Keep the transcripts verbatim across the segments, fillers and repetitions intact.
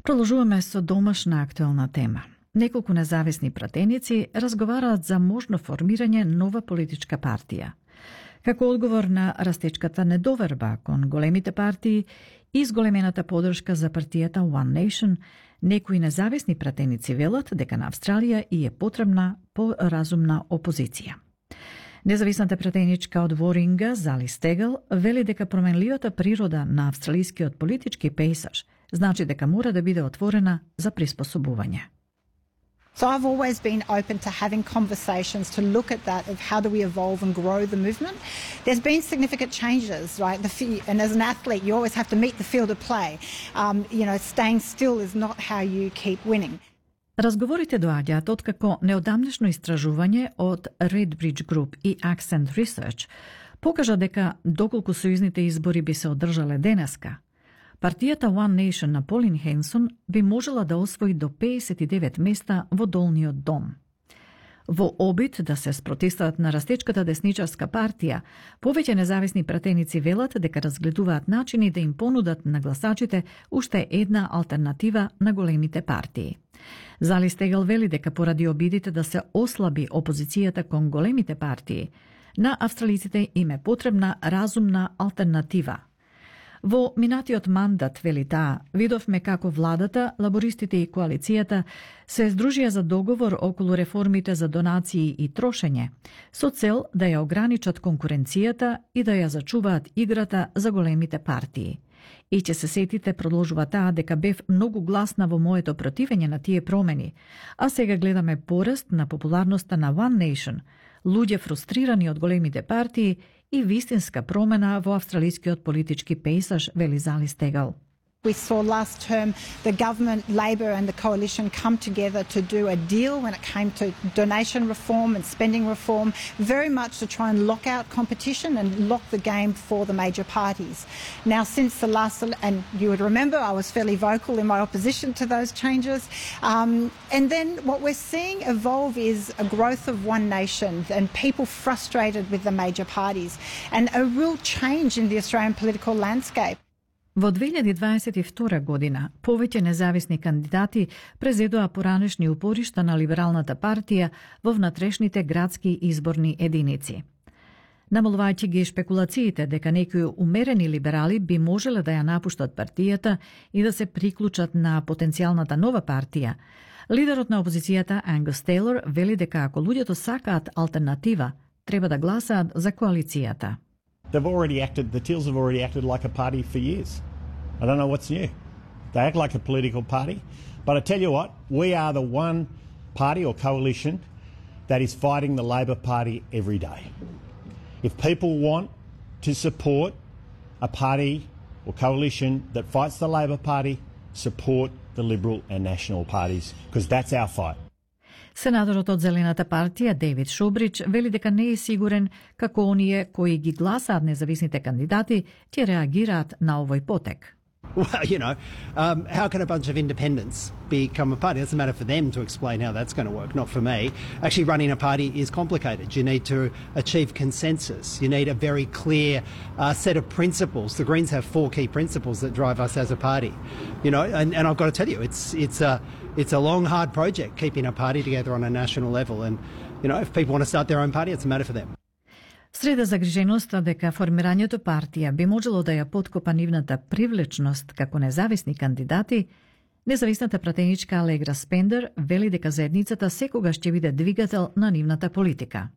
Продолжуваме со домашна актуелна тема. Неколку независни пратеници разговараат за можно формирање нова политичка партија. Како одговор на растечката недоверба кон големите партии и зголемената подршка за партијата One Nation, некои независни пратеници велат дека на Австралија и е потребна поразумна опозиција. Независната пратеничка од Воринга, Зали Стегел, вели дека променливата природа на австралискиот политички пейсаж значи дека мора да биде отворена за приспособување. So I've always been open to having conversations to look at that of how do we evolve and grow the movement. There's been significant changes, right? The, and as an athlete, you always have to meet the field of play. Um, you know, staying still is not how you keep winning. Разговорите доаѓаат откако неодамнешно истражување од Redbridge Group и Accent Research покажа дека доколку сојузните избори би се одржале денеска, партијата One Nation на Полин Хенсон би можела да освои до педесет и девет места во долниот дом. Во обид да се спротивстават на растечката десничарска партија, повеќе независни пратеници велат дека разгледуваат начини да им понудат на гласачите уште една алтернатива на големите партии. Зали Стегел вели дека поради обидите да се ослаби опозицијата кон големите партии, на австралиците им е потребна разумна алтернатива. Во минатиот мандат, вели таа, видовме како владата, лабористите и коалицијата се здружија за договор околу реформите за донации и трошење, со цел да ја ограничат конкуренцијата и да ја зачуваат играта за големите партии. И ќе се сетите, продолжува таа, дека бев многу гласна во моето противење на тие промени, а сега гледаме пораст на популарноста на One Nation, луѓе фрустрирани од големите партии и вистинска промена во австралискиот политички пейсаж, вели Зали Стегел. We saw last term the government, Labor and the coalition come together to do a deal when it came to donation reform and spending reform, very much to try and lock out competition and lock the game for the major parties. Now, since the last, and you would remember I was fairly vocal in my opposition to those changes, um, and then what we're seeing evolve is a growth of One Nation and people frustrated with the major parties and a real change in the Australian political landscape. Во две илјади дваесет и втора година, повеќе независни кандидати презедоа поранешни упоришта на либералната партија во внатрешните градски изборни единици. Намалувајќи ги шпекулациите дека некои умерени либерали би можеле да ја напуштат партијата и да се приклучат на потенцијалната нова партија, лидерот на опозицијата Ангус Тейлор вели дека ако луѓето сакаат алтернатива, треба да гласаат за коалицијата. They've already acted, the Teals have already acted like a party for years. I don't know what's new. They act like a political party. But I tell you what, we are the one party or coalition that is fighting the Labor Party every day. If people want to support a party or coalition that fights the Labor Party, support the Liberal and National parties, because that's our fight. Сенаторот од Зелената партија Дейвид Шобрич вели дека не е сигурен како оние кои ги гласаат независните кандидати ќе реагираат на овој потек. Well, you know, um, how can a bunch of independents become a party? It doesn't matter for them to explain how that's going to work, not for me. Actually, running a party is complicated. You need to achieve consensus. You need a very clear uh, set of principles. The Greens have four key principles that drive us as a party. You know, and, and I've got to tell you, it's it's a it's a long, hard project keeping a party together on a national level. And you know, if people want to start their own party, it's a matter for them. Среда загриженоста дека формирањето партија би можело да ја поткопа нивната привлечност како независни кандидати, независната пратеничка Алегра Спендер вели дека заедницата секогаш ќе биде двигател на нивната политика.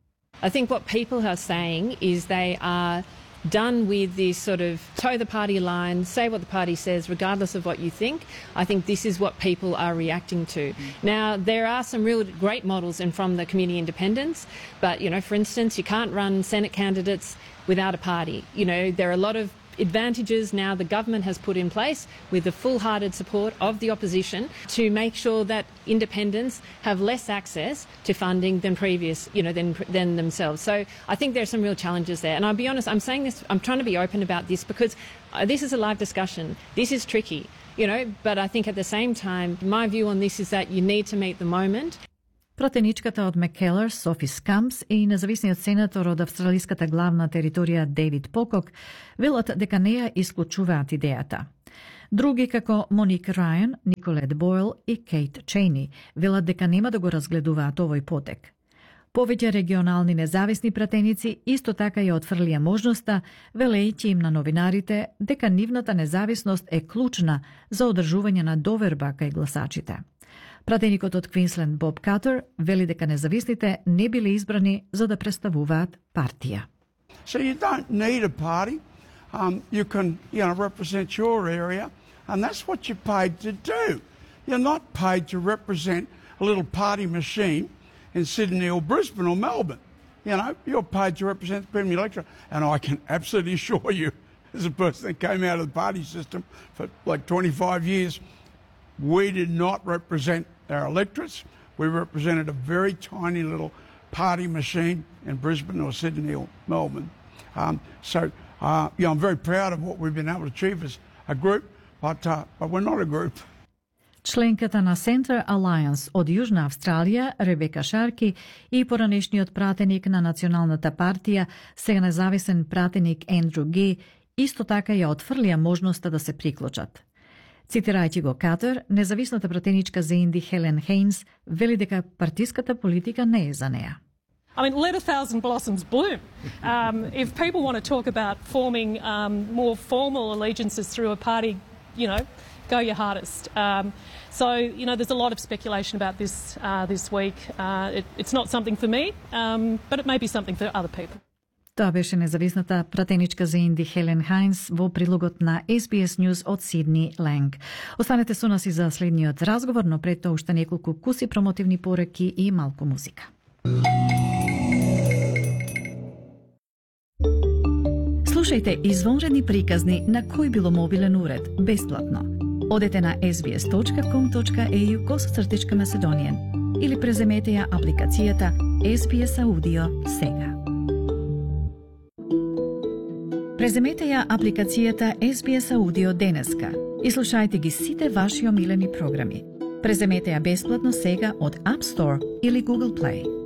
I think what people are saying is they are done with this sort of toe the party line, say what the party says regardless of what you think. I think this is what people are reacting to. Now, there are some real great models in from the community independents, but, you know, for instance, you can't run Senate candidates without a party. You know, there are a lot of advantages now the government has put in place with the full-hearted support of the opposition to make sure that independents have less access to funding than previous, you know, than, than themselves. So I think there are some real challenges there. And I'll be honest, I'm saying this, I'm trying to be open about this because uh, this is a live discussion. This is tricky, you know, but I think at the same time, my view on this is that you need to meet the moment. Пратеничката од Маккелар, Софи Скамс и независниот сенатор од австралиската главна територија Дейвид Покок велат дека не ја исклучуваат идејата. Други како Моник Рајан, Николет Бойл и Кейт Чейни велат дека нема да го разгледуваат овој потек. Повеќе регионални независни пратеници исто така ја отфрлија можноста, велејќи им на новинарите дека нивната независност е клучна за одржување на доверба кај гласачите. Пратеникот од Квинсленд Боб Катер вели дека независните не биле избрани за да представуваат партија. So you don't need a party. Um, you can, you know, represent your area, and that's what you're paid to do. You're not paid to represent a little party machine in Sydney or Brisbane or Melbourne. You know, you're paid to represent the Premier electorate. And I can absolutely assure you, as a person that came out of the party system for like twenty-five years, we did not represent our electorates. We represented a very tiny little party machine in Brisbane or Sydney or Melbourne. Um, so, uh, yeah, I'm very proud of what we've been able to achieve as a group, but, uh, but we're not a group. Членката на Center Alliance од Јужна Австралија, Ребека Шарки, и поранешниот пратеник на Националната партија, сега независен пратеник Ендрю Ги, исто така ја отфрлија можноста да се приклучат. Цитирајќи го Катер, независната пратеничка за Инди Хелен Хейнс вели дека партиската политика не е за неа. I mean, let a thousand blossoms bloom. Um, if people want to talk about forming um, more formal allegiances through a party, you know, go your hardest. Um, so, you know, there's a lot of speculation about this uh, this week. Uh, it, it's not something for me, um, but it may be something for other people. Тоа беше независната пратеничка за Инди Хелен Хајнс во прилогот на Ес Би Ес News од Сидни Ленг. Останете со нас и за следниот разговор, но пред тоа уште неколку куси промотивни пореки и малку музика. Слушајте извонредни приказни на кој било мобилен уред, бесплатно. Одете на ес би ес точка ком точка е ю косацртичка Macedonian или преземете ја апликацијата Ес Би Ес Аудио сега. Преземете ја апликацијата Ес Би Ес Аудио денеска и слушајте ги сите ваши омилени програми. Преземете ја бесплатно сега од App Store или Google Play.